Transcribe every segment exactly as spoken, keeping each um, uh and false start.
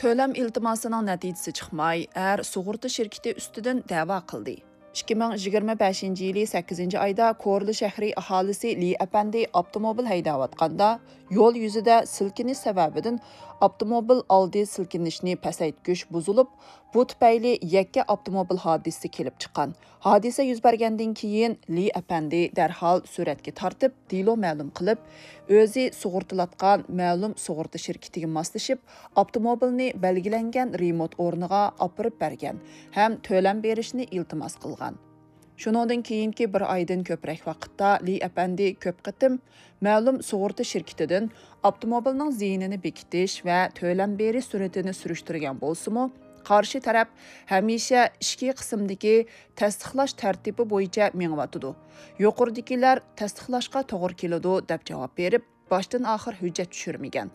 تۆلەم ئىلتىماسىنىڭ نەتىجىسى چىقماي، ئەر سۇغۇرتا شىركىتى ئۈستىدىن دەۋا قىلدى. ئىككى مىڭ يىگىرمە بەشىنچى يىلى سەككىزىنچى ئايدا كورلا شەھىرى ئاھالىسى لى ئەپەندى ئاپتوموبىل ھەيدەۋاتقاندا، يول يۈزىدە سىلكىنىش سەۋەبىدىن ئاپتوموبىل ئالدى سىلكىنىشنى پەسەيتكۈچ بۇزۇلۇپ، بۇ تۈپەيلى يەككە ئاپتوموبىل ھادىسىسى كېلىپ چىققان. ھادىسە يۈز بەرگەندىن كېيىن، لى ئەپەندى دەرھال سۈرەتكە تارتىپ، دېلو مەلۇم قىلىپ، ئۆزى سۇغۇرتىلاتقان مەلۇم سۇغۇرتا شىركىتىگە ماسلىشىپ، ئاپتوموبىلنى بەلگىلەنگەن رېمونت ئورنىغا ئاپىرىپ بەرگەن ھەم تۆلەم بېرىشنى ئىلتىماس قىلغان. شۇنىڭدىن كېيىنكى بىر ئايدىن كۆپرەك ۋاقىتتا لى ئەپەندى كۆپ قېتىم مەلۇم سۇغۇرتا شىركىتىدىن ئاپتوموبىلنىڭ زىيىنىنى بېكىتىش ۋە تۆلەم بېرىش سۈرئىتىنى سۈرۈشتۈرگەن بولسىمۇ، قارشى تەرەپ ھەمىشە ئىچكى قىسىمدىكى تەستىقلاش تەرتىپى بويىچە مېڭىۋاتىدۇ. يۇقىرىدىكىلەر تەستىقلاشقا توغرا كېلىدۇ، دەپ جاۋاب بېرىپ، باشتىن ئاخىر ھۆججەت چۈشۈرمىگەن.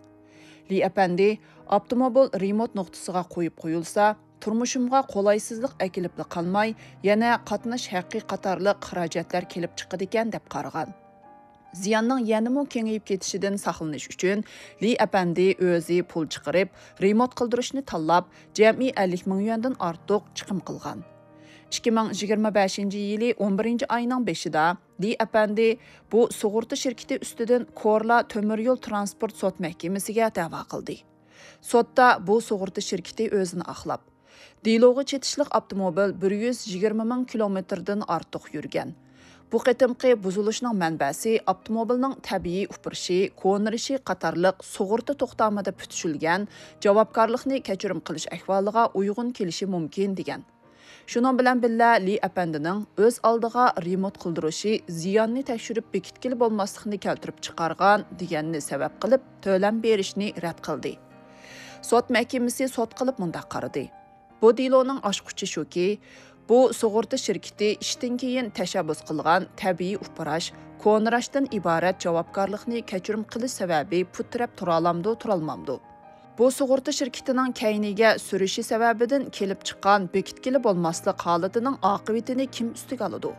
لى ئەپەندى، ئاپتوموبىل رېمونت نۇقتىسىغا قويۇپ قويۇلسا، تۇرمۇشۇمغا قولايسىزلىق ئەكېلىپلا قالماي، يەنە قاتناش ھەققى قاتارلىق خىراجەتلەر كېلىپ چىقىدىكەن، دەپ قارىغان. زىياننىڭ يەنىمۇ كېڭىيىپ كېتىشىدىن ساقلىنىش ئۈچۈن، لى ئەپەندى ئۆزى پۇل چىقىرىپ، رېمونت قىلدۇرۇشنى تاللاپ، جەمئىي ئەللىك مىڭ يۈەندىن ئارتۇق چىقىم قىلغان. ئىككى مىڭ يىگىرمە بەشىنچى يىلى ئون بىرىنچى ئاينىڭ بېشىدا، لى ئەپەندى بۇ سۇغۇرتا شىركىتى ئۈستىدىن كورلا تۆمۈر يول ترانسپورت سوت مەھكىمىسىگە دەۋا قىلدى. سوتتا بۇ سۇغۇرتا شىركىتى ئۆزىنى ئاقلاپ، دېلوغا چېتىشلىق ئاپتوموبىل بىر يۈز يىگىرمە مىڭ كىلومېتىردىن ئارتۇق يۈرگەن. بۇ قېتىمقى بۇزۇلۇشنىڭ مەنبەسى ئاپتوموبىلنىڭ تەبىئىي ئۇپرىشى، كونىرىشى قاتارلىق سۇغۇرتا توختامىدا پۈتۈشۈلگەن جاۋابكارلىقنى كەچۈرۈم قىلىش ئەھۋالىغا ئۇيغۇن كېلىشى مۇمكىن، دېگەن. شۇنىڭ بىلەن بىللە، لى ئەپەندىنىڭ ئۆز ئالدىغا رېمونت قىلدۇرۇشى زىياننى تەكشۈرۈپ بېكىتكىلى بولماسلىقنى كەلتۈرۈپ چىقارغان دېگەننى سەۋەب قىلىپ، تۆلەم بېرىشنى رەت قىلدى. سوت مەھكىمىسى سوت قىلىپ مۇنداق قارىدى: بۇ دېلونىڭ ئاچقۇچى شۇكى، بۇ سۇغۇرتا شىركىتى ئىشتىن كېيىن تەشەببۇس قىلغان تەبىئىي ئۇپراش، كونىراشتىن ئىبارەت جاۋابكارلىقنى كەچۈرۈم قىلىش سەۋەبى پۇت تىرەپ تۇرالامدۇ، تۇرالمامدۇ؟ بۇ سۇغۇرتا شىركىتىنىڭ كەينىگە سۈرۈشى سەۋەبىدىن كېلىپ چىققان بېكىتكىلى بولماسلىق ھالىتىنىڭ ئاقىۋىتىنى كىم ئۈستىگە ئالىدۇ؟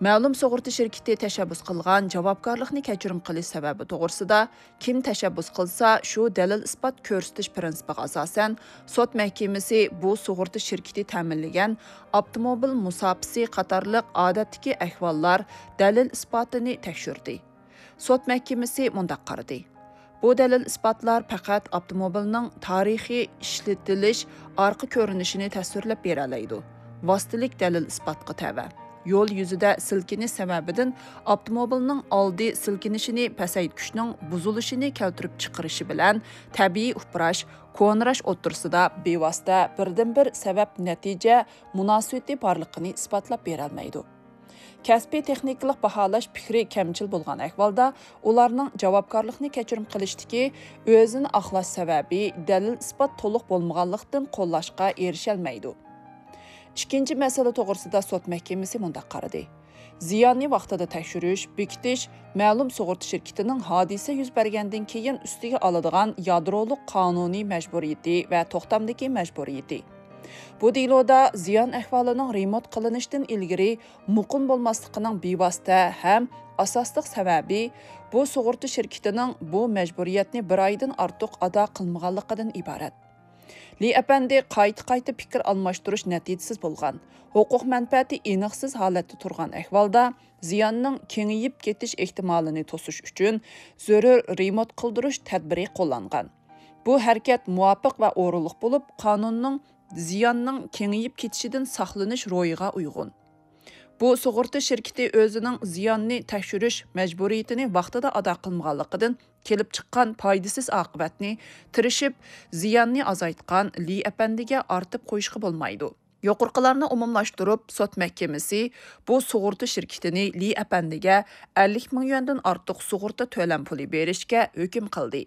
مەلۇم سۇغۇرتا شىركىتى تەشەببۇس قىلغان جاۋابكارلىقنى كەچۈرۈم قىلىش سەۋەبى توغرىسىدا كىم تەشەببۇس قىلسا، شۇ دەلىل-ئىسپات كۆرسىتىش پىرىنسىپىغا ئاساسەن، سوت مەھكىمىسى بۇ سۇغۇرتا شىركىتى تەمىنلىگەن ئاپتوموبىل مۇساپىسى قاتارلىق ئادەتتىكى ئەھۋاللار دەلىل-ئىسپاتىنى تەكشۈردى. سوت مەھكىمىسى مۇنداق قارىدى: بۇ دەلىل-ئىسپاتلار پەقەت ئاپتوموبىلنىڭ تارىخىي ئىشلىتىلىش ئارقا كۆرۈنۈشىنى تەسۋىرلەپ بېرەلەيدۇ. ۋاسىتىلىك دەلىل-ئىسپاتقا تەۋە. يول يۈزىدە سىلكىنىش سەۋەبىدىن ئاپتوموبىلنىڭ ئالدى سىلكىنىشىنى پەسەيتكۈچنىڭ بۇزۇلۇشىنى كەلتۈرۈپ چىقىرىشى بىلەن تەبىئىي ئۇپراش، كونىراش ئوتتۇرىسىدا بىۋاسىتە بىردىنبىر سەۋەب-نەتىجە مۇناسىۋىتى بارلىقىنى ئىسپاتلاپ بېرەلمەيدۇ. كەسپىي تېخنىكىلىق باھالاش پىكرى كەمچىل بولغان ئەھۋالدا، ئۇلارنىڭ جاۋابكارلىقنى كەچۈرۈم قىلىشتىكى ئۆزىنى ئاقلاش سەۋەبى دەلىل-ئىسپات تولۇق بولمىغانلىقتىن قوللاشقا ئېرىشەلمەيدۇ. ئىككىنچى مەسىلە توغرىسىدا سوت مەھكىمىسى مۇنداق قارىدى: زىياننى ۋاقتىدا تەكشۈرۈش، بېكىتىش مەلۇم سۇغۇرتا شىركىتىنىڭ ھادىسە يۈز بەرگەندىن كېيىن ئۈستىگە ئالىدىغان يادرولۇق قانۇنىي مەجبۇرىيىتى ۋە توختامدىكى مەجبۇرىيىتى. بۇ دېلودا زىيان ئەھۋالىنىڭ رېمونت قىلىنىشتىن ئىلگىرى مۇقىم بولماسلىقىنىڭ بىۋاسىتە ھەم ئاساسلىق سەۋەبى بۇ سۇغۇرتا شىركىتىنىڭ بۇ مەجبۇرىيەتنى بىر ئايدىن ئارتۇق ئادا قىلمىغانلىقىدىن ئىبارەت. لى ئەپەندى قايتا-قايتا پىكىر ئالماشتۇرۇش نەتىجىسىز بولغان، ھوقۇق مەنپەئەتى ئېنىقسىز ھالەتتە تۇرغان ئەھۋالدا، زىياننىڭ كېڭىيىپ كېتىش ئېھتىمالىنى توسۇش ئۈچۈن زۆرۈر رېمونت قىلدۇرۇش تەدبىرى قوللانغان. بۇ ھەرىكەت مۇۋاپىق ۋە ئورۇنلۇق بولۇپ، قانۇننىڭ زىياننىڭ كېڭىيىپ كېتىشىدىن ساقلىنىش روھىغا ئۇيغۇن. بۇ سۇغۇرتا شىركىتى ئۆزىنىڭ زىياننى تەكشۈرۈش مەجبۇرىيىتىنى ۋاقتىدا ئادا قىلمىغانلىقىدىن كېلىپ چىققان پايدىسىز ئاقىۋەتنى تىرىشىپ زىياننى ئازايتقان لى ئەپەندىگە ئارتىپ قويۇشقا بولمايدۇ. يۇقىرىقىلارنى ئومۇملاشتۇرۇپ، سوت مەھكىمىسى بۇ سۇغۇرتا شىركىتىنى لى ئەپەندىگە ئەللىك مىڭ يۈەندىن ئارتۇق سۇغۇرتا تۆلەم پۇلى بېرىشكە ھۆكۈم قىلدى.